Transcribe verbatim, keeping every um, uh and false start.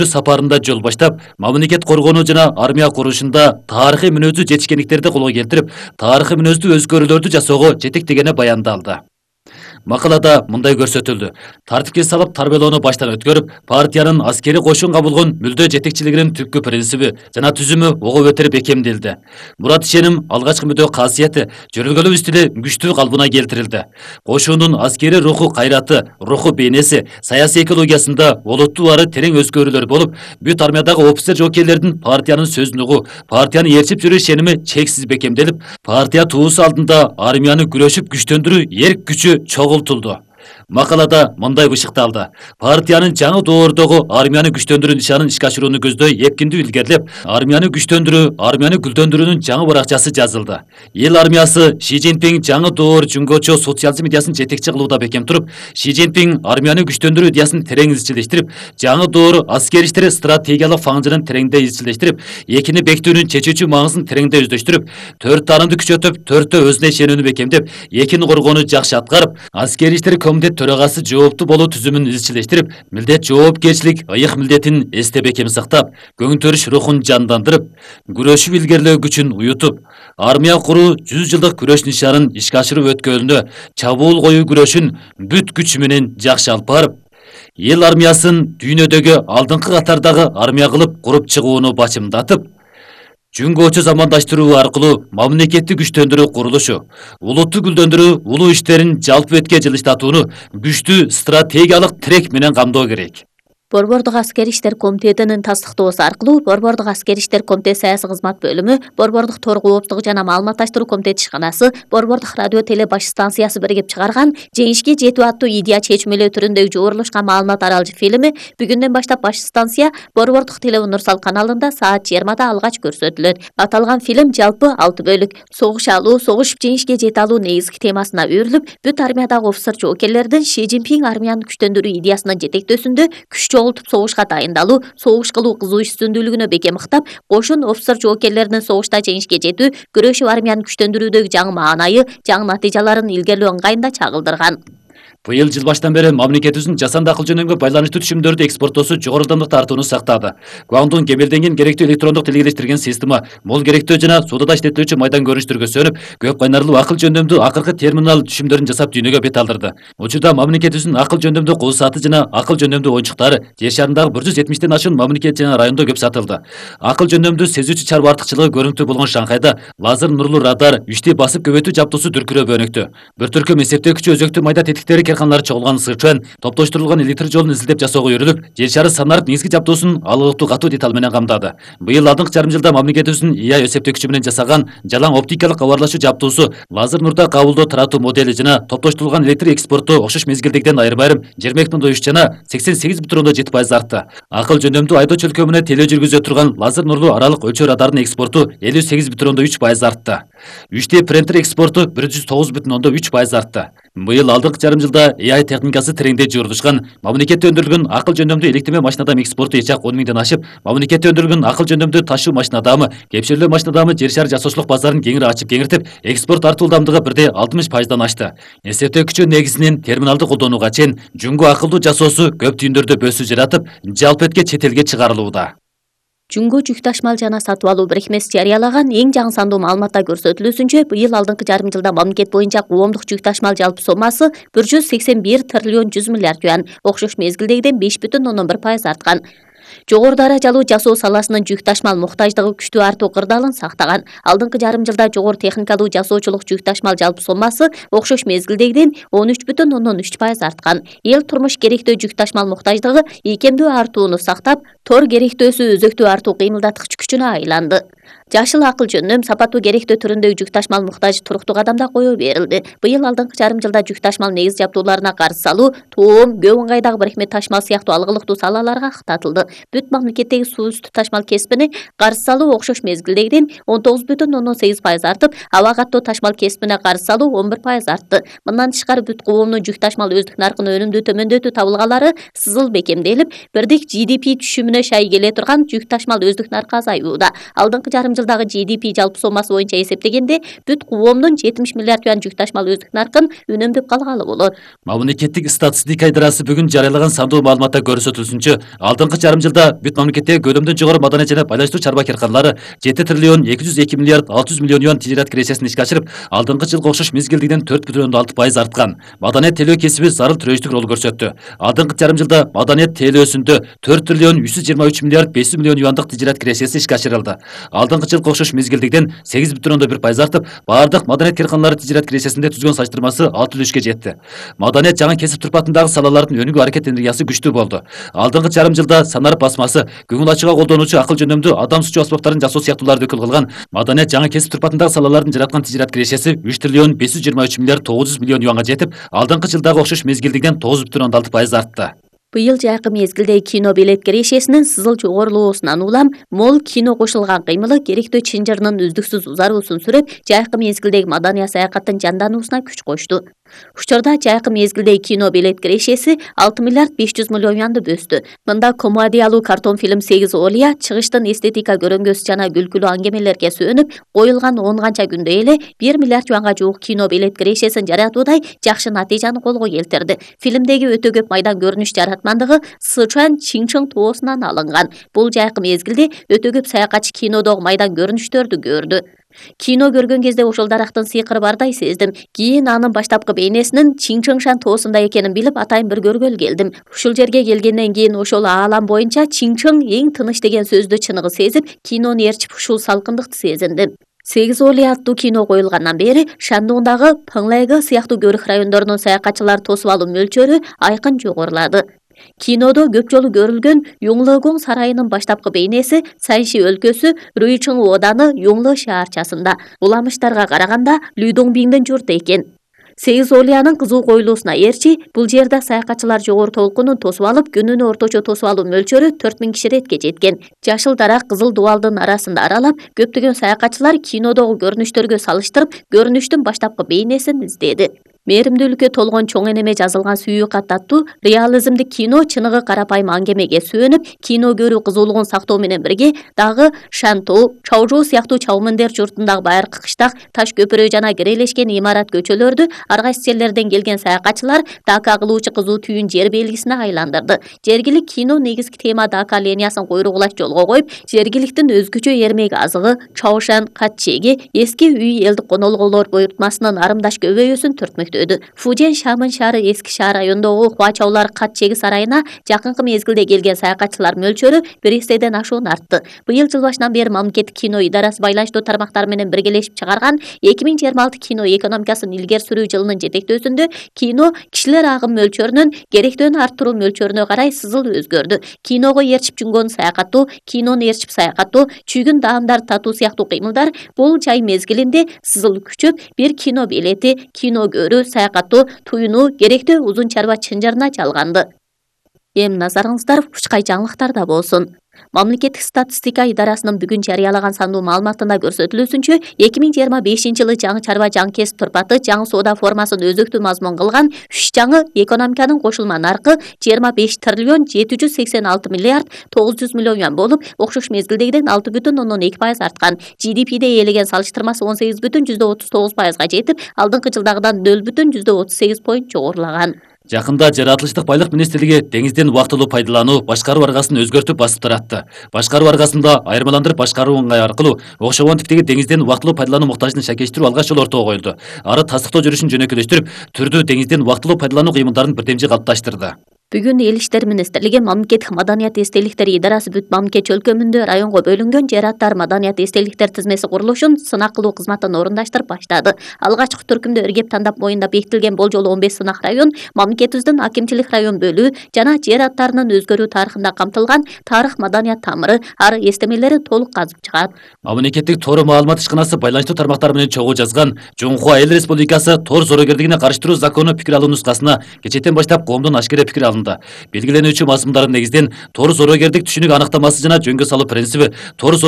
сапарында жол баштап, мамлекет коргонуу жана армия курушунда тарыхый мүнөздүү жетишкендиктерди колго келтирип, тарыхый мүнөздүү өзгөрүүлөрдү жасоого жетектегени баяндалды. Макалада мындай көрсөтүлдү. Тартипке салып тарбиялоону баштан өткөрүп, партиянын аскери кошунга болгон мүлдө жетекчилигинин түпкү принциби жана түзүмү ого өтөр бекемделди. Мурат ишеним алгачкы мүдө касияти, жүргүлөө стили күчтүү калыбына келтирилди. Кошундун аскери руху кайраты, руху бейнеси, саясий экологиясында олуттуу ары терең өзгөрүүлөр болуп, бүт армиядагы офицер жокейлердин партиянын сөзүн угуу, партияны ээрчип жүрүү ишеними чексиз бекемделип, партия туусу алдында армияны күрөшүп күчтөндүрүү эрк күчү чогултулду. Макалада мындай бышыкталды. Партиянын жаңы доордогу армияны күчтөндүрүү нишанын ишке ашырууну көздөй эпкиндүү илгерилеп, армияны күчтөндүрүү, армияны гүлдөндүрүүнүн жаңы баракчасы жазылды. Эл армиясы Ши Цзиньпин жаңы доор жөнгөчө социализм идеясын жетекчи кылууда бекем туруп, Ши Цзиньпин армияны күчтөндүрүү идеясын терең изчилештирип, жаңы доор аскер иштери стратегиялык фаңжынын тереңдей изчилештирип, экини бекитүүнүн чечүүчү маңызын тереңдей өздөштүрүп, төрт таанымды күчөтүп, төрттө өзүнө ишенүүнү бекемдеп, экини коргоону жакшы аткарып, аскери иштер комитет төрагасы жооптуу болуу түзүмүн изчилештирип, милдет жоопкерчилик ыйык милдетин эсте бекем сактап, көңтөрүш рухун жандандырып, күрөшүп илгерилөө күчүн уютуп, армия куруу жүз жылдык күрөш нишанын ишке ашыруу өткөлүнө чабуул коюу күрөшүн бүт күчү менен жакшы алып барып, эл армиясын дүйнөдөгү алдыңкы катардагы армия кылып куруп чыгууну бачымдатып, Жүнгөчө замандаштыруу аркылуу мамлекеттик күчтөндүрүү курулушу, улутту гүлдөндүрүү, улуу иштерин жалпы бетке жылыштатууну күчтүү стратегиялык тирек менен камдоо керек. Борбордук аскери иштер комитетинин тастыктоосу аркылуу Борбордук аскери иштер комитети саясий кызмат бөлүмү, Борбордук тор кооптугу жана маалыматташтыруу комитети ишканасы, Борбордук радио теле баш станциясы биригип чыгарган «Жеңишке жетүү» аттуу идея чечмелөө түрүндөгү жогорулушкан маалымат аралжы фильми бүгүндөн баштап баш станция Борбордук теле Унурсал каналында саат жыйырмада алгач көрсөтүлөт. Аталган фильм жалпы алты бөлүк. Согуш алуу, согушуп жеңишке жете алуу негизги темасына өрүлүп, бүт армиядагы офицер жоокерлердин Ши Цзиньпин армияны күчтөндүрүү идеясынын жетектөөсүндө күч чогултуп согушка дайындалуу, согуш кылуу кызуу үстүндүүлүгүнө бекем ыктап, кошун офицер жоокерлеринин согушта жеңишке жетүү, күрөшүп армияны күчтөндүрүүдөгү жаңы маанайы, жаңы натыйжаларын илгерлөө ыңгайында чагылдырган. Быйыл жыл баштан бери мамлекетибиздин жасанды акыл жөнөмгө байланыштуу түшүмдөрдү экспорттоосу жогору ылдамдык тартууну сактады. Гуандун кемелденген керектүү электрондук тилгелештирген система, мол керектүү жана сууда иштетилүүчү майдан көрүнүштөргө сөнүп, көп кайнарлуу акыл жөндөмдүү акыркы терминал түшүмдөрүн жасап дүйнөгө бет алдырды. Учурда мамлекетибиздин акыл жөндөмдүү кол сааты жана акыл жөндөмдүү оюнчуктары жер шарындагы бир жүз жетимиштен ашуун мамлекет жана райондо көп сатылды. Акыл жөндөмдүү сезүүчү чарба артыкчылыгы көрүнүктүү болгон Шанхайда лазер нурлуу радар, үчтү басып көбөйтүү жабдуусу дүркүрөп өнүктү. Бир түркүм эсептегичи өзөктүү майда тетиктери карканалары чогулган Сычуан топтоштурулган электр жолун изилдеп жасоого үйрөлүп, жер шары санарып негизги жабдуусун алыктуу катуу деталь менен камдады. Быйыл алдыңкы жарым жылда мамлекетибиздин ИА эсептегичи менен жасаган жалаң оптикалык кабарлашуу жабдуусу, лазер нурда кабылдоо таратуу модели жана топтоштурулган электр экспорту окшош мезгилдегиден айрым айрым жыйырма эки бүтүн үч жана сексен сегиз бүтүн ондон жети пайыз артты. Акыл жөндөмдүү айдоо чөлкөө менен телөө жүргүзө турган лазер нурлуу аралык өлчөө радарынын экспорту элүү сегиз бүтүн ондон үч пайыз артты. үч дэ принтер экспорту бир жүз тогуз бүтүн ондон үч пайыз артты. Быйыл алдыңкы жарым жылда ИА техникасы тереңдей жуурулушкан, мамлекетте өндүрүлгөн акыл жөндөмдүү электирме машинадам экспорту эч ак он миңден ашып, мамлекетте өндүрүлгөн акыл жөндөмдүү ташуу машинадамы, кепширлөө машинадамы жер шары жасоочулук базарын кеңири ачып кеңиртип, экспорт артуу ылдамдыгы бир дэ алтымыш пайыздан ашты. Эсептегичи негизинен терминалды колдонууга чейин жүнгө акылдуу жасоосу көп түйүндөрдө бөсүү жаратып, жалпы этке чет элге чыгарылууда. Жүнгө жүк ташмал жана сатып алуу бирикмеси жарыялаган эң жаңы сандуу маалыматта көрсөтүлүүсүнчө, быйыл алдыңкы жарым жылда мамлекет боюнча коомдук жүк ташмал жалпы сомасы бир жүз сексен бир триллион жүз миллиард юан, окшош мезгилдегиден беш бүтүн ондон бир пайыз арткан. Жогору даражалуу жасоо саласынын жүк ташмал муктаждыгы күчтүү артуу кырдаалын сактаган. Алдыңкы жарым жылда жогору техникалуу жасоочулук жүк ташмал жалпы сомасы окшош мезгилдегиден он үч бүтүн ондон үч пайыз арткан. Эл турмуш керектөө жүк ташмал муктаждыгы ийкемдүү артууну сактап, тор керектөөсү өзөктүү артуу кыймылдаткыч күчүнө айланды. Жашыл акыл жөндөм сапаттуу керектөө түрүндөгү жүк ташмал муктажы туруктуу кадамда кое берилди. Быйыл алдыңкы жарым жылда жүк ташмал негиз жабдууларына карыз салуу, тоом, көп ыңгайдагы бирикме ташмал сыяктуу алгылыктуу салаларга кыттатылды. Бүт мамлекеттеги суу үстү ташмал кесипине карыз салуу окшош мезгилдегиден он тогуз бүтүн ондон сегиз пайыз артып, аба каттоо ташмал кесипине карыз салуу он бир пайыз артты. Мындан тышкары бүт коомдун жүк ташмал өздүк наркын өнүмдүү төмөндөтүү табылгалары сызыл бекемделип, бирдик Джи Ди Пи түшүмүнө шай келе турган жүк ташмал өздүк наркы азаюуда. Алдыңкы жарым жылдагы Джи Ди Пи жалпы сомасы боюнча эсептегенде бүт коомдун жетимиш миллиард юан жүк ташмал өздүк наркын үнөмдөп калгалы болот. Мамлекеттик статистика идарасы бүгүн жарыялаган сандуу маалыматта көрсөтүлсүнчө, алдыңкы жарым жылда бүт мамлекеттеги көлөмдөн жогору маданият жана байланыштуу чарба карканалары жети триллион эки жүз эки миллиард алты жүз миллион юан тижерет киресесин ишке ашырып, алдыңкы жылга окшош мезгилдегиден төрт бүтүн ондон алты пайыз арткан. Маданият тейлөө кесиби зарыл төрөчтүк рол көрсөттү. Алдыңкы жарым жылда маданият тейлөөсүндө төрт триллион үч жүз жыйырма үч миллиард беш жүз миллион юандык тижерет киресеси ишке ашырылды. Алдыңкы жылга окшош мезгилдегиден сегиз бүтүн ондон бир пайыз артып, бардык маданият карканалары тижерет киресесинде түзгөн салыштырмасы алты үлүшкө жетти. Маданият жаңы кесип турпатындагы салалардын өнүгүү аракет энергиясы күчтүү болду. Алдыңкы жарым жылда санар басмасы, көңүл ачууга колдонуучу акыл жөнөмдүү адам сучу аспаптарын жасоо сыяктууларды өкүл кылган маданият жаңы кесип турпатындагы салалардын жараткан тижерет кирешеси үч триллион беш жүз жыйырма үч миллиард тогуз жүз миллион юанга жетип, алдыңкы жылдагы окшош мезгилдегиден тогуз бүтүн ондон алты пайыз артты. Быйыл жайкы мезгилде кино билет кирешесинин сызыл жогорулоосунан улам мол кино кошулган кыймылы керектөө чынжырынын үздүксүз узаруусун сүрөп, жайкы мезгилдеги маданият саякаттын жандануусуна күч кошту. Учурда жайкы мезгилдеги кино билет кирешеси алты миллиард беш жүз миллион юанды бөстү. Мында комедиялуу картон фильм сегиз Олия чыгыштын эстетика көрөнгөсү жана күлкүлүү аңгемелерге сүйөнүп, коюлган он канча күндө эле бир миллиард юанга жуук кино билет кирешесин жаратуудай жакшы натыйжаны колго келтирди. Фильмдеги өтө көп майдан көрүнүш жаратмандыгы Сычуан Чинчың тоосунан алынган. Бул жайкы мезгилде өтө көп саякатчы кинодогу майдан көрүнүштөрдү көрдү. Кино көргөн кезде ошол дарактын сыйкыры бардай сездим. Кийин анын баштапкы бейнесинин Чинчыңшан тоосунда экенин билип, атайын бир көргөлү келдим. Ушул жерге келгенден кийин ошол аалам боюнча Чинчың эң тыныч деген сөздү чыныгы сезип, кинону ээрчип ушул салкындыкты сезиндим. сегиз Олия аттуу кино коюлгандан бери Шандоңдагы Пыңлайгы сыяктуу көрүк райондорунун саякатчылар тосуп алуу мөлчөрү айкын жогорулады. Кинодо көп жолу көрүлгөн Юңлыгуң сарайынын баштапкы бейнеси Санши өлкөсү Руйчың ооданы Юңлы шаарчасында. Уламыштарга караганда Людоңбиңдин журту экен. сегиз Олиянын кызуу коюлуусуна ээрчи, бул жерде саякатчылар жогору толкунун тосуп алып, күнүнө орточо тосуп алуу мөлчөрү төрт миң киши иретке жеткен. Жашыл дарак кызыл дубалдын арасында аралап, көптөгөн саякатчылар кинодогу көрүнүштөргө салыштырып, көрүнүштүн баштапкы бейнесин издеди. Мээримдүүлүккө толгон чоң энеме жазылган сүйүү кат аттуу реализмдик кино чыныгы карапайым аңгемеге сүйөнүп, кино көрүү кызуулугун сактоо менен бирге дагы Шантоу, Чаожоу сыяктуу чалмындер журтундагы байыркы кыштак, таш көпүрө жана кирелешкен имарат көчөлөрдү ар кайсы жерлерден келген саякатчылар Дака кылуучу кызуу түйүн жер белгисине айландырды. Жергилик кино негизги тема Дака линиясын койругулаш жолго коюп, жергиликтин өзгөчө эрмек азыгы Чаошан катчеги эски үй элдик конолгулор буйртмасынын арымдаш көбөйүүсүн түртмөктө. Фужен Шамын шаары эски шаар районундагы Хуачаулар катчеги сарайына жакынкы мезгилде келген саякатчылар мөлчөрү бир эстеден ашуун артты. Быйыл жыл башынан бери мамлекеттик кино идарасы байланыштуу тармактар менен биргелешип чыгарган эки миң жыйырма алты кино экономикасын илгери сүрүү жылынын жетектөөсүндө кино кишилер агым мөлчөрүнүн керектөөнү арттыруу мөлчөрүнө карай сызыл өзгөрдү. Киного ээрчип жүнгөн саякаттоо, кинону ээрчип саякаттоо, чүйгүн даамдар татуу сыяктуу кыймылдар бул жай мезгилинде сызыл күчөп, бир кино билети, кино көрүү, саякаттоо, туюнуу керектөө узун чарба чынжырына чалганды. Эми назарыңыздар учкай жаңылыктарда болсун. Мамлекеттик статистика идарасынын бүгүн жарыялаган сандуу маалыматында көрсөтүлүүсүнчө, эки миң жыйырма бешинчи жылы жаңы чарба жаңы кесип турпаты жаңы соода формасын өзөктүү мазмун кылган үч жаңы экономиканын кошулма наркы жыйырма беш триллион жети жүз сексен алты миллиард тогуз жүз миллион юан болуп, окшош мезгилдегиден алты бүтүн ондон эки пайыз арткан. джи ди пиде ээлеген салыштырмасы он сегиз бүтүн жүздө отуз тогуз пайызга жетип, алдыңкы жылдагыдан нөл бүтүн жүздө отуз сегиз поинт жогорулаган. Жакында жаратылыштык байлык министрлиги деңизден убактылуу пайдалануу башкаруу аргасын өзгөртүп басып таратты. Башкаруу аргасында айырмаландырып башкаруу ыңгай аркылуу окшогон типтеги деңизден убактылуу пайдалануу муктажын шакештирүү алгач жолу ортого коюлду. Ары тастыктоо жүрүшүн жөнөкөйлөштүрүп, түрдүү деңизден убактылуу пайдалануу кыймылдарын бирдемчи калыпташтырды. Бүгүн Эл иштер министрлиги мамлекеттик маданият эстеликтери идарасы бүт мамлекет чөлкөмүндө районго бөлүнгөн жер аттар маданият эстеликтер тизмеси курулушун сынак кылуу кызматын орундаштырып баштады. Алгачкы түркүмдө иргеп тандап моюнда бекитилген болжолу он беш сынак район мамлекетибиздин акимчилик район бөлүү жана жер аттарынын өзгөрүү тарыхында камтылган тарых маданият тамыры, ары эстемелери толук казып чыгат. Мамлекеттик тору маалымат ишканасы байланыштуу тармактар менен чогуу жазган Жоңхуа Эл Республикасы тор зоорогерлигине карыштыруу закону пикир алуу нускасына кечээден баштап коомдун ашкере пикир алынды. Белгиленүүчү мазмундардын негизинен тор зоорогердик түшүнүк аныктамасы жана жөнгө салуу принциби, тор